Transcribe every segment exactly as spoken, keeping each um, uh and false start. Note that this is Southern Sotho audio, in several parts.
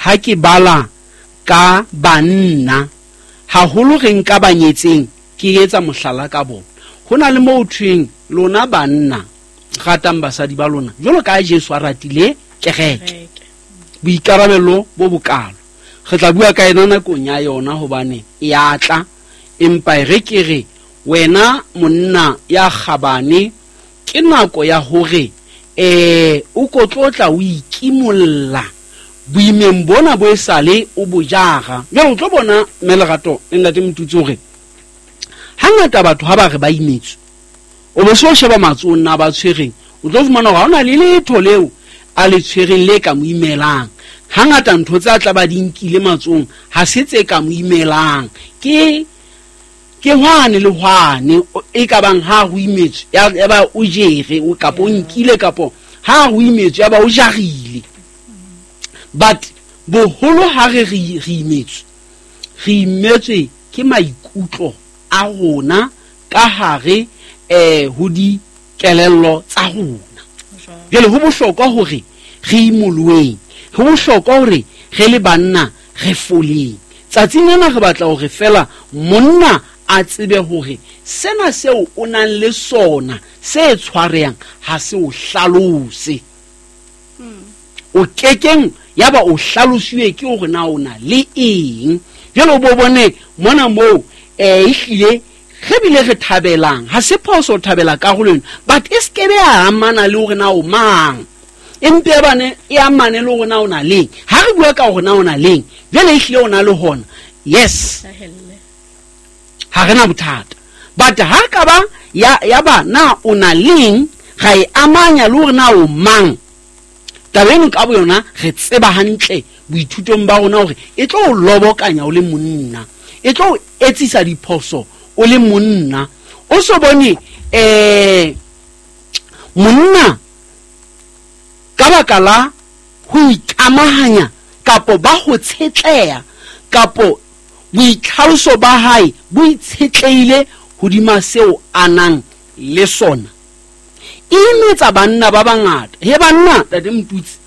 Ha ke bala ka banna haholo re nka ba nyetseng, ke etsa mohlala ka bona. Ho na le moo thweng lona banna ratang basadi ba lona jwalo ka Jesu a ratile kereke. Boikarabelo bo bokalo re tla bua ka ena nakong ya yona hobane e a tla, empa e re ke re wena monna ya kgabane, ke nako ya hore eh o ko tlotla o ikimolla boimeng bona bo esale o bo jara. Jwale o tlo bona mme Lerato le ntate Motutsi hore hangata batho ha ba re ba imetswe, o bo so sheba matsohong na ba tshwereng, o tlo fumana hore ha hona le letho leo a le tshwereng le ka mo imelang. Hangata ntho tse a tla ba di nkile matsohong ha se tse ka mo imelang, ke ke hwane le hwane e ka bang ha ho imetswe ya, ya ba o jere o kapo o nkile kapo ha ho imetswe ya ba o jarile. But boholo ha re re re imetswe, re imetswe ke maikutlo a rona ka hare eh ho dikelello tsa rona. Jwale ho bohlokwa hore re imoloeng, ho bohlokwa hore re le banna re foleng. Tsatsing lena re batla hore fela monna a tsebe hore sena seo o nang le sona se tshwarehang ha se o hlalose. O kekeng ya ba o hlalosiwe ke hore na o na le eng. Jwale o bo bone mona moo eh ehlile re bile re thabelang, ha se phoso ho thabela karolo eno, but e se ke be ya amana le hore na o mang, empe e bane e amane le hore na o na leng. Ha re bua ka hore na o na leng, jwale ehlile o na le hona, yes, ha re na bothata. But ha ka ba ya, ya ba na o na leng, ra e amanya le hore na o mang, taba eno ka boyona re tseba hantle boithutong ba rona hore e tlo o lobokanya o le monna, e tlo o etsisa diphoso o le monna. O so bone eh monna ka baka la ho ikamahanya kapo ba ho tshetleha kapo boitlhaloso ba hae bo itshetlehile hodima seo a nang le sona, e imetsa banna ba bangata. He banna, Ntate Motutsi,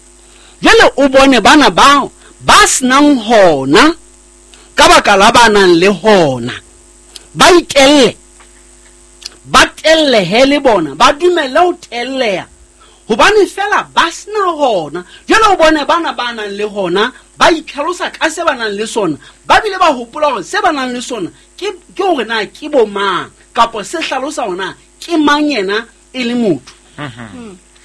jwale o bone bana bao ba senang hona ka baka la ba nang le hona, ba itelle, ba tellehe le bona, ba dumelle ho telleha hobane fela ba sena hona. Jwale o bone bana ba nang le hona ba itlhalosa ka se ba nang le sona, ba bile ba hopola hore se ba nang le sona ke, ke hore na ke bo mang, kapa se hlalosa hore na ke mang yena e le motho.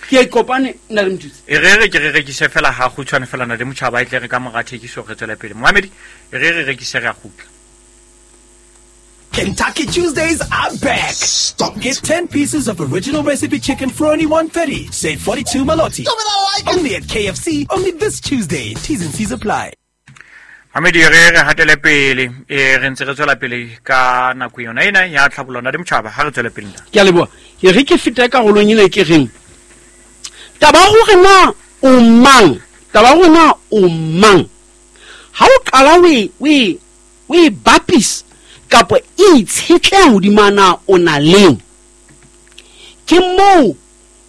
Ke kopane nna le Motutsi. E re re ke re rekise fela ha kgutshwane fela na le motjhaba e tle re ka mora thekiso re tswele pele. Mohamedi, e re re rekise re a kgutla. Kentucky Tuesdays are back. Stop. Get ten pieces of original recipe chicken for only one thirty. Save forty-two maloti. Stop it, I like it. Only at K F C. Only this Tuesday. T's and C's apply. Mohamedi, re re hatele pele. E re ntse re tswela pele ka nako yona ena ya tlhabollo na le motjhaba. Ha re tswele pele nna. Ke a leboha. Ke re ke fete karolong ena ke reng, taba ya hore na o mang, taba ya hore na o mang, ha o qala o e, o e, o e bapisa kapa e itshetleha hodima na o na leng, ke moo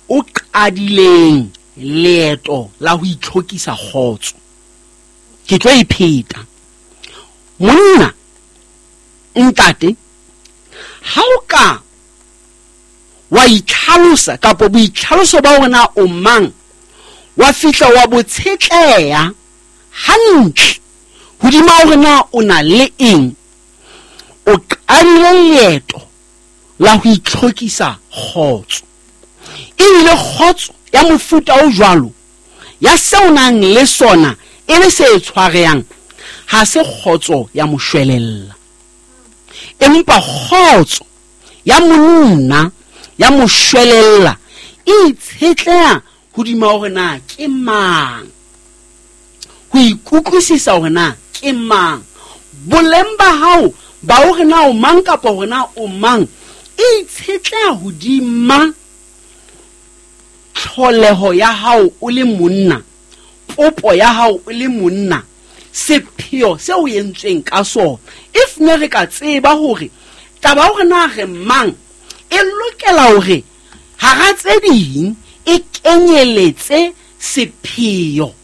o qadileng leeto la ho itlhokisa kgotso. Ke tlo e pheta. Monna, ntate, ha o ka wa itlhalosa kapa boitlhaloso ba hore na o mang, wa fihla wa bo tshetleha hantle hodima hore na o na le eng, o qadile leeto la ho itlhokisa kgotso. Ebile kgotso ya mofuta o jwalo ya seo nang le sona e le se tshwarehang, ha se kgotso ya moshwelella, empa kgotso ya monna ya moshwelella e itshetleha hodima hore na ke mang, ho ikutlwisisa hore na ke mang, boleng ba hao ba hore na o mang kapa hore na o mang e itshetleha hodima tlholeho ya hao o le monna, popo ya hao o le monna, sepheo seo o entsweng ka sona. If ne re ka tseba hore taba hore na re mang e lokela hore hara tse ding e kenyeletse sepheo